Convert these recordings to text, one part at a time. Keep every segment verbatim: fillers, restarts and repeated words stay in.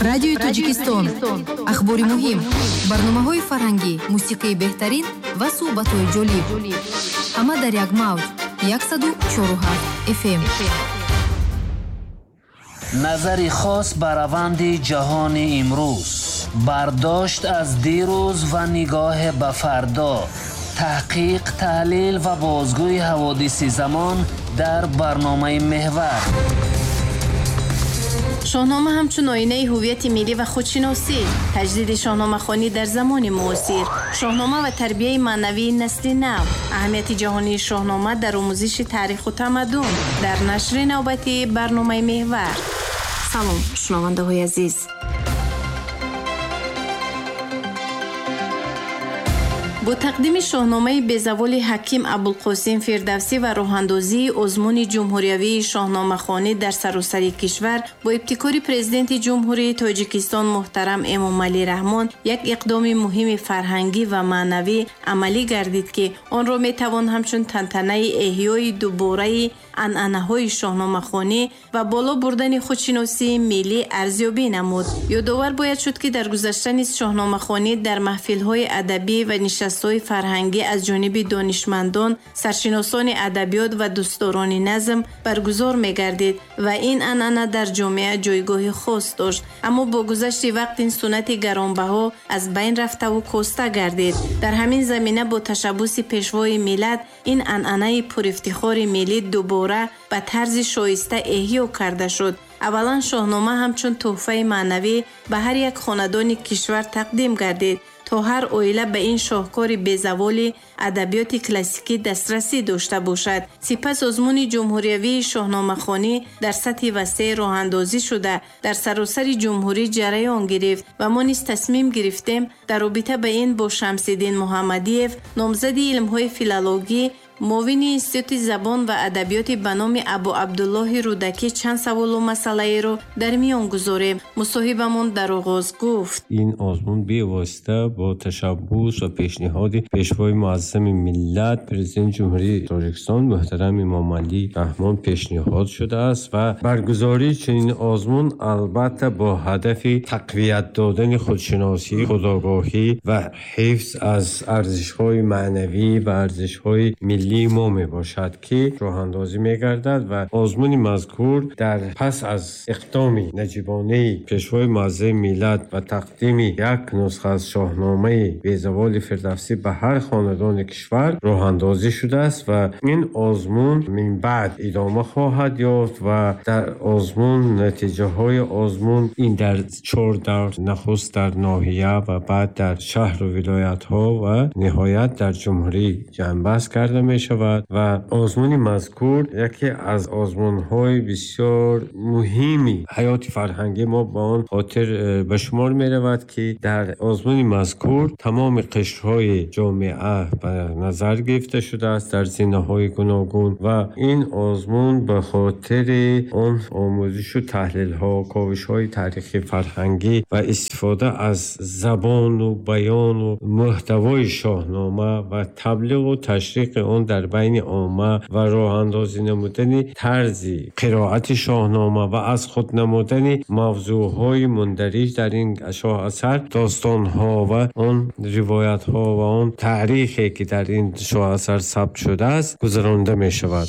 Радиои Тоҷикистон. Ахбори муҳим, барномаҳои фарҳангӣ, мусиқии беҳтарин ва суҳбатҳои ҷолиб. Ҳама дар як мавҷ. яксаду чору ҳафт эф эм. Назари хос ба раванди ҷаҳони имрӯз, бардошт аз дирӯз ва нигоҳ ба фардо, таҳқиқ, таҳлил ва бозгӯи ҳаводиси замон дар барномаи Меҳвар. Шоҳнома ҳамчун оинаи ҳувияти миллӣ ва худшиносӣ, таҷдиди шоҳномахонӣ дар замони муосир, шоҳнома ва тарбияи маънавии насли нав, аҳамияти ҷаҳонии шоҳнома дар омӯзиши таъриху тамаддун дар нашри навбатии барномаи Меҳвар. Салом, шунавандаҳои азиз. Бо тақдими шоҳномаи безаволи ҳаким Абулқосим Фирдавсӣ ва роҳандозии озмуни ҷумҳуриявии шоҳномахонӣ дар саросари кишвар бо ибтикори президенти Ҷумҳурии Тоҷикистон муҳтарам Эмомалӣ Раҳмон як иқдоми муҳими фарҳангӣ ва маънавӣ амалӣ гардид, ки онро метавон ҳамчун тантанаи эҳёи дубораи анъанаҳои шоҳномахонӣ ва боло бурдани худшиносии миллӣ арзёбӣ намуд. Ёдовар бояд шуд, ки дар гузашта низ шоҳномахонӣ дар маҳфилҳои адабӣ ва нишастҳои фарҳангӣ аз ҷониби донишмандон, саршиносони адабиёт ва дӯстдорони назм баргузор мегардид ва ин анъана дар ҷомеа ҷойгоҳи хос дошт. Аммо бо гузашти вақт ин суннати гаронбаҳо аз байн рафтаву коста гардид. Дар ҳамин замина бо ташаббуси пешвои миллат ин анъанаи пурифтихори миллӣ дубора ба тарзи шоиста эҳё карда шуд. Аввалан шоҳнома ҳамчун тӯҳфаи маънавӣ ба ҳар як хонадони кишвар тақдим гардид, то ҳар оила ба ин шоҳкори безаволи адабиёти классикӣ дастрасӣ дошта бошад. Сипас озмуни ҷумҳуриявии шоҳномахонӣ дар сатҳи васеъ роҳандозӣ шуда, дар саросари ҷумҳурӣ ҷараён гирифт ва мо низ тасмим гирифтем дар робита ба ин бо Шамсиддин Муҳаммадиев, номзади илмҳои филологӣ, муовини Институти забон ва адабиёти ба номи Абу Абдуллоҳи Рӯдакӣ чанд саволу масъалаеро дар миён гузорем. Мусоҳибамон дар оғоз гуфт: ин озмун бевосита бо ташаббус ва пешниҳоди пешвои муаззами миллат, президенти Ҷумҳурии Тоҷикистон муҳтарам Эмомалӣ Раҳмон пешниҳод шудааст ва баргузории чунин озмун албатта бо ҳадафи тақвият додани худшиносӣ, худогоҳӣ ва ҳифз аз арзишҳои маънавӣ ва арзишҳои миллӣ мо мебошад, ки роҳандозӣ мегардад ва озмуни мазкур дар пас аз иқдоми наҷибонаи пешвои муаззами миллат ва тақдими як нусха аз шоҳномаи безаволи Фирдавсӣ ба ҳар хонадони кишвар роҳандозӣ шудааст ва ин озмун минбаъд идома хоҳад ёфт ва дар озмун натиҷаҳои озмун ин дар чор давр, нахуст дар ноҳия ва баъд дар шаҳру вилоятҳо ва ниҳоят дар ҷумҳурӣ ҷамъбаст карда мешавад ва озмуни мазкур яке аз озмунҳои бисёр муҳими ҳаёти фарҳангии мо ба он хотир ба шумор меравад, ки дар озмуни мазкур тамоми қишрҳои ҷомеа ба назар гирифта шудааст дар зинаҳои гуногун ва ин озмун ба хотири он омӯзишу таҳлилҳо, ковишҳои таърихи фарҳангӣ ва истифода аз забону баёну муҳтавои шоҳнома ва таблиғу ташриқи он дар байни омма ва роҳандозӣ намудани тарзи қироати шоҳнома ва аз худ намудани мавзӯъҳои мундариҷ дар ин шоҳасар, достонҳо ва он ривоятҳо ва он таърихе ки дар ин шоҳасар сабт шудааст гузаронда мешавад.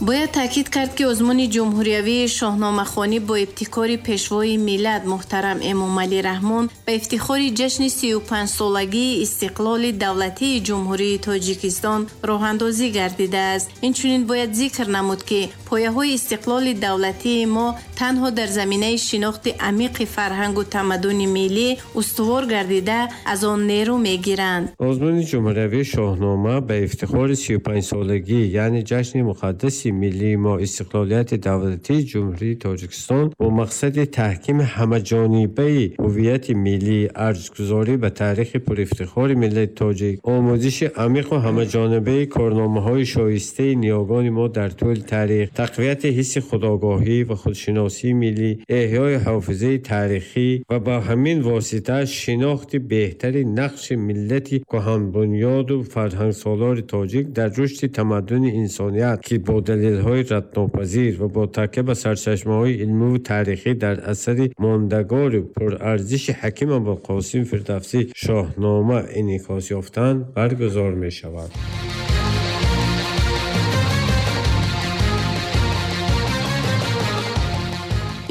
Бояд таъкид кард, ки озмуни ҷумҳуриявии шоҳномахонӣ бо ибтикори пешвои миллат муҳтарам Эмомалӣ Раҳмон ба ифтихори ҷашни сию панҷсолагии истиқлоли давлатии Ҷумҳурии Тоҷикистон роҳандозӣ гардидааст. Инчунин бояд зикр намуд, ки пояҳои истиқлоли давлатии мо танҳо дар заминаи шинохти амиқи фарҳангу тамаддуни миллӣ устувор гардида аз он нерӯ мегиранд. Озмуни ҷумҳуриявии шоҳнома ба ифтихори сию панҷсолагӣ, яъне ҷашни муқаддаси миллии мо истиқлолияти давлатии Ҷумҳурии Тоҷикистон бо мақсади таҳкими ҳамаҷонибаи ҳувияти миллӣ, арҷгузорӣ ба таърихи пурифтихори миллати тоҷик, омӯзиши амиқу ҳамаҷонибаи корномаҳои шоистаи ниёгони мо дар тӯли таърих, тақвияти ҳисси худогоҳӣ ва худшиносии миллӣ, эҳёи ҳофизаи таърихӣ ва ба ҳамин восита шинохти беҳтари нақши миллати кӯҳанбунёду фарҳангсолори тоҷик дар рушди тамаддуни инсоният, ки бо далел‌های ردناپذیر و با تکیه به سرچشمه‌های علمی و تاریخی در اثر ماندگار پرارزش حکیم ابوالقاسم فردوسی شاهنامه انعکاس یافتند برگزار می‌شود.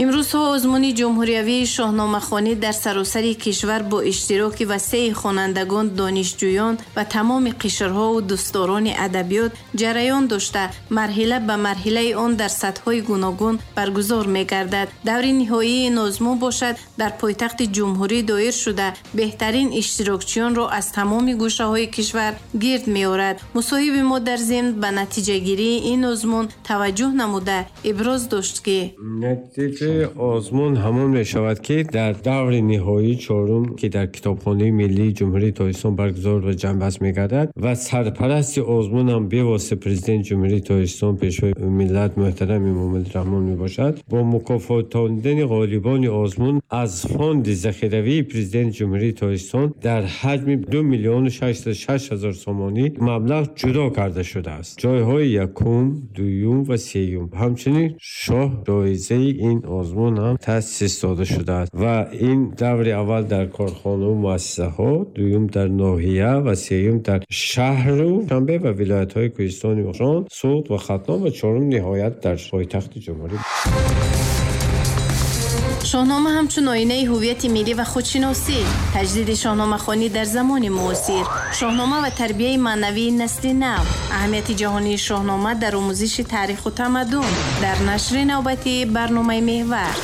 Имрӯзҳо озмуни ҷумҳуриявии шоҳномахонӣ дар саросари кишвар бо иштироки васеи хонандагон, донишҷӯён ва тамоми қишрҳову дӯстдорони адабиёт ҷараён дошта, марҳила ба марҳилаи он дар сатҳҳои гуногун баргузор мегардад. Даври ниҳоии ин озмун бошад дар пойтахти ҷумҳурӣ доир шуда, беҳтарин иштирокчиёнро аз тамоми гӯшаҳои кишвар гирд меорад. Мусоҳиби мо дар зимн ба натиҷагирии ин озмун таваҷҷӯҳ намуда иброз дошт, ки озмун ҳамон мешавад, ки дар даври ниҳоии чорум, ки дар китобхонаи миллии ҷумҳурии Тоҷикистон баргузор ва ҷамъбаст мегардад ва сарпарасти озмун ҳам бевосита президенти ҷумҳурии Тоҷикистон, пешвои миллат муҳтарам Эмомалӣ Раҳмон мебошад. Бо мукофотондани ғолибони озмун аз фонди захиравии президенти ҷумҳурии Тоҷикистон дар ҳаҷми ду миллиону шашсаду шаш ҳазор сомонӣ маблағ ҷудо карда шудааст. Ҷойҳои якум, дуюм ва сеюм, ҳамчунин шоҳ ҷоизаи ин озмун ҳам таъсис дода шудааст ва ин даври аввал дар корхонаву муассисаҳо, дуюм дар ноҳия ва сеюм дар шаҳру Душанбе ва вилоятҳои Кӯҳистони Бадахшон, Суғд ва Хатлон ва чорум ниҳоят дар пойтахти ҷумҳурӣ. Шоҳнома ҳамчун оинаи ҳувияти миллӣ ва худшиносӣ, таҷдиди шоҳномахонӣ дар замони муосир, шоҳнома ва тарбияи маънавии насли нав, аҳамияти ҷаҳонии шоҳнома дар омӯзиши таъриху тамаддун дар нашри навбатии барномаи Меҳвар.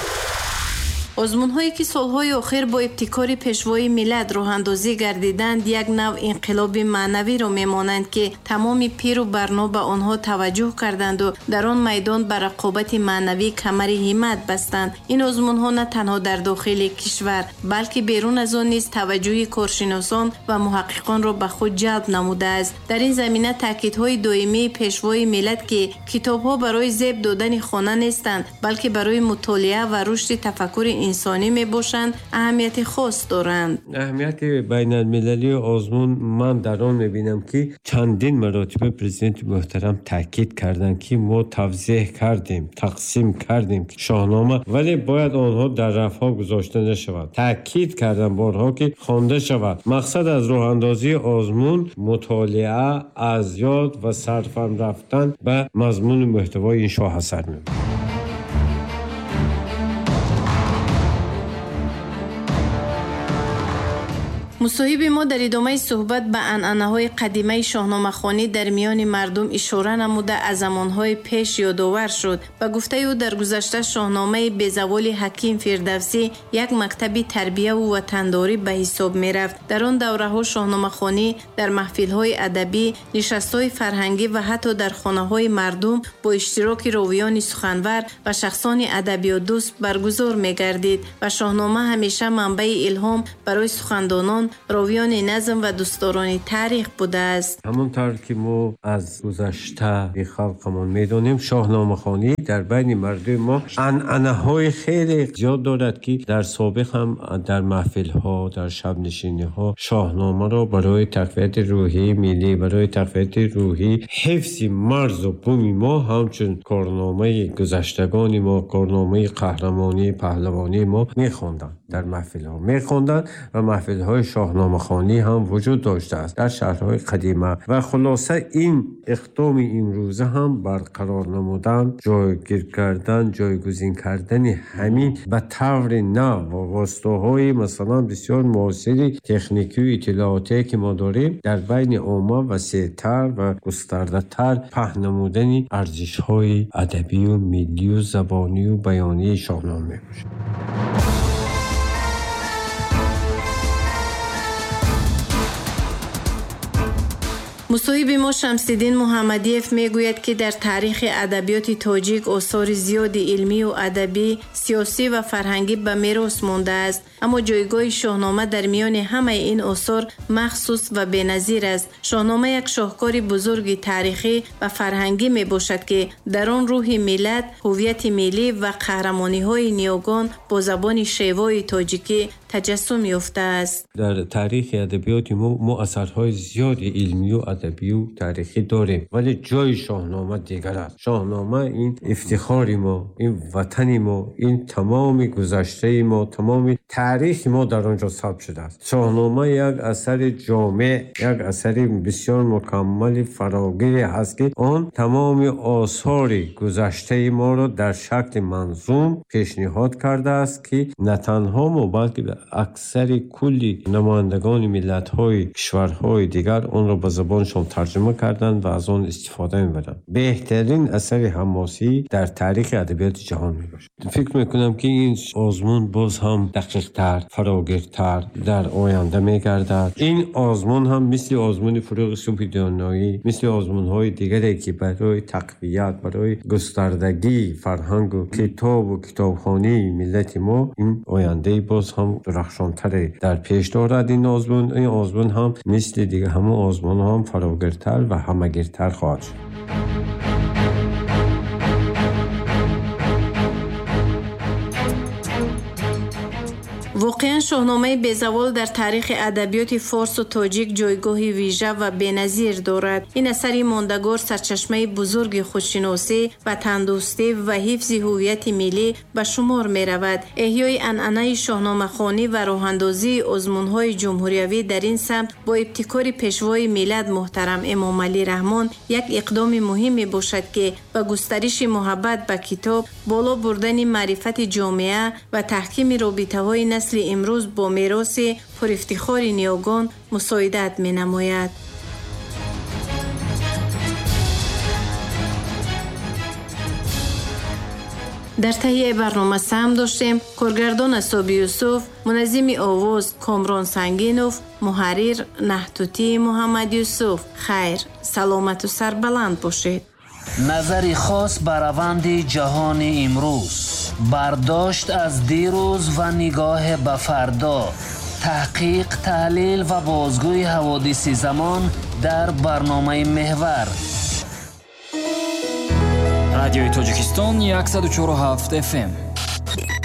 Озмунҳое ки солҳои охир бо ибтикори пешвои миллат роҳандозӣ гардиданд, як нав инқилоби маънавиро мемонанд, ки тамоми пиру барно ба онҳо таваҷҷӯҳ карданду дар он майдон ба рақобати маънавӣ камари ҳиммат бастанд. Ин озмунҳо на танҳо дар дохили кишвар, балки берун аз он низ таваҷҷӯҳи коршиносон ва муҳаққиқонро ба худ ҷалб намудааст. Дар ин замина таъкидҳои доимии пешвои миллат, ки китобҳо барои зеб додани хона нестанд, балки барои мутолиа ва рушди тафаккури инсонӣ мебошанд, аҳамияти хос доранд. Аҳамияти байналмилалии озмун ман дар он мебинам, ки чандин маротиба президенти муҳтарам таъкид карданд, ки мо тавзеҳ кардем, тақсим кардем шоҳнома, вале бояд онҳо дар рафҳо гузошта нашавад. Таъкид кардам борҳо, ки хонда шавад. Мақсад аз роҳандозии озмун мутолиа, аз ёд ва сарфам рафтан ба мазмуну муҳтавои ин шоҳасар мебошад. Мусоҳиби мо дар идомаи суҳбат ба анъанаҳои қадимаи шоҳномахонӣ дар миёни мардум ишора намуда, аз замонҳои пеш ёдовар шуд. Ба гуфтаи ӯ, дар гузашта шоҳномаи безаволи ҳаким Фирдавсӣ як мактаби тарбияву ватандорӣ ба ҳисоб мерафт. Дар он давраҳо шоҳномахонӣ дар маҳфилҳои адабӣ, нишастҳои фарҳангӣ ва ҳатто дар хонаҳои мардум бо иштироки ровиёни суханвар ва шахсони адабиётдӯст баргузор мегардид ва шоҳнома ҳамеша манбаи илҳом барои сухандонон, ровиёни назм ва дӯстдорони таърих будааст. Ҳамон тавр ки мо аз гузаштаи халқамон медонем, шоҳномахонӣ дар байни мардуми мо анъанаҳои хеле зиёд дорад, ки дар собиқ ҳам дар маҳфилҳо, дар шабнишиниҳо шоҳномаро барои тақвияти рӯҳии миллӣ, барои тақвияти рӯҳӣ, ҳифзи марзу буми мо ҳамчун корномаи гузаштагони мо, корномаи қаҳрамонии паҳлавонии мо мехонданд. Дар маҳфилҳо мехонданд ва маҳфилҳои шоҳномахонӣ ҳам вуҷуд доштааст дар шаҳрҳои қадима. Ва хулоса ин иқдоми имрӯза ҳам барқарор намудан, ҷойгир кардан, ҷойгузин кардани ҳамин ба таври нав ва воситаҳои масалан бисёр муосири техникию иттилоотие, ки мо дорем, дар байни омма васеътар ва густардатар паҳн намудани арзишҳои адабию миллию забонию баёнии шоҳнома мебошад. Мусоҳиби мо Шамсиддин Муҳаммадиев мегӯяд, ки дар таърихи адабиёти тоҷик осори зиёди илмию адабӣ, сиёсӣ ва фарҳангӣ ба мерос мондааст. Аммо ҷойгоҳи Шоҳнома дар миёни ҳамаи ин осор махсус ва беназир аст. Шоҳнома як шоҳкори бузурги таърихӣ ва фарҳангӣ мебошад, ки дар он рӯҳи миллат, ҳувияти миллӣ ва қаҳрамониҳои ниёгон бо забони шевои тоҷикӣ таҷассум ёфтааст. Дар таърихи адабиёти мо мо асарҳои зиёди илмию адабию таърихӣ дорем, вале ҷои Шоҳнома дигар аст. Шоҳнома ин ифтихори мо, ин ватани мо, ин тамоми гузаштаи мо, тамоми таърихи мо дар он ҷо сабт шудааст. Шоҳнома як асари ҷомеъ, як асари бисёр мукаммали фарогире ҳаст, ки он тамоми осори гузаштаи моро дар шакли манзум пешниҳод кардааст, ки на танҳо мо, балки аксари кулли намояндагони миллатҳои кишварҳои дигар онро ба забоншон тарҷума карданд ва аз он истифода мебаранд. Беҳтарин асари ҳамосӣ дар таърихи адабиёти ҷаҳон мебошад. Фикр мекунам, ки ин озмун боз ҳам дақиқтар, фарогиртар дар оянда мегардад. Ин озмун ҳам мисли озмуни Фурӯғи субҳи доноӣ, мисли озмунҳои дигаре, ки барои тақвият, барои густардагии фарҳангу китобу китобхонии миллати мо, ин ояндаи боз ҳам дурахшонтаре дар пеш дорад. Ин озмун, ин озмун ҳам мисли дигар ҳамон озмунҳо ҳам фарогиртар ва ҳамагиртар хоҳад шуд. Воқеан, Шоҳномаи безавол дар таърихи адабиёти форсу тоҷик ҷойгоҳи вижа ва беназир дорад. Ин асари мондагор сарчашмаи бузурги худшиносӣ, ватандӯстӣ ва ҳифзи ҳувияти миллӣ ба шумор меравад. Эҳёи анъанаи шоҳномахонӣ ва роҳандозии озмунҳои ҷумҳуриявӣ дар ин самт бо ибтикори пешвои миллат муҳтарам Эмомалӣ Раҳмон як иқдоми муҳим мебошад, ки ба густариши муҳаббат ба китоб, боло бурдани маърифати ҷомеа ва таҳкими робитаҳои насли имрӯз бо мероси пурафтихори ниёгон мусоидат менамояд. Дар таҳияи барнома саҳм доштем коргардон Асоби Юсуф, муназзими овоз Комрон Сангинов, муҳаррир Наҳтутӣ Муҳаммад Юсуф. Хайр, саломату сарбаланд бошед. Назари хос ба раванди ҷаҳони имрӯз, бардошт аз дирӯз ва нигоҳ ба фардо, таҳқиқ, таҳлил ва бозгӯи ҳаводиси замон дар барномаи Меҳвар. Радиои Тоҷикистон яксаду чору ҳафт эф эм.